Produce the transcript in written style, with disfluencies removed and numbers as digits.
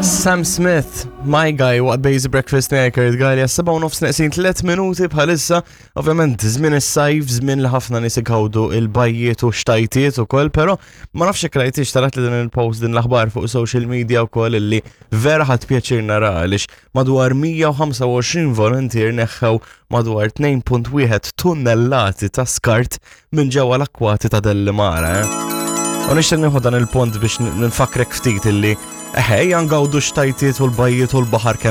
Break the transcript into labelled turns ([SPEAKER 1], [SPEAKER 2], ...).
[SPEAKER 1] Sam Smith, My Guy, waqt Basic Breakfast miegħi Kurt Gallia, 7 u nofs neqsin 3 minuti bħalissa. Ovvjament, żmien is-sajf, żmien li ħafna nies igawdu il-bajjiet u xtajtiet ukoll, però ma nafx jekk rajtix tarat li din il-post din l-aħbar fuq social media wkoll illi vera ħadd pjaċir nara għaliex madwar 125 volunteer neħħew madwar 2.1 tunnellati ta' skart minn ġewwa l-akkwati ta' Dellimara. Eh? U nixtieq nieħu dan il-punt biex nfakrek ftit illi eħe, ngawdu xtajtiet u l-bajjiet u l-baħar kemm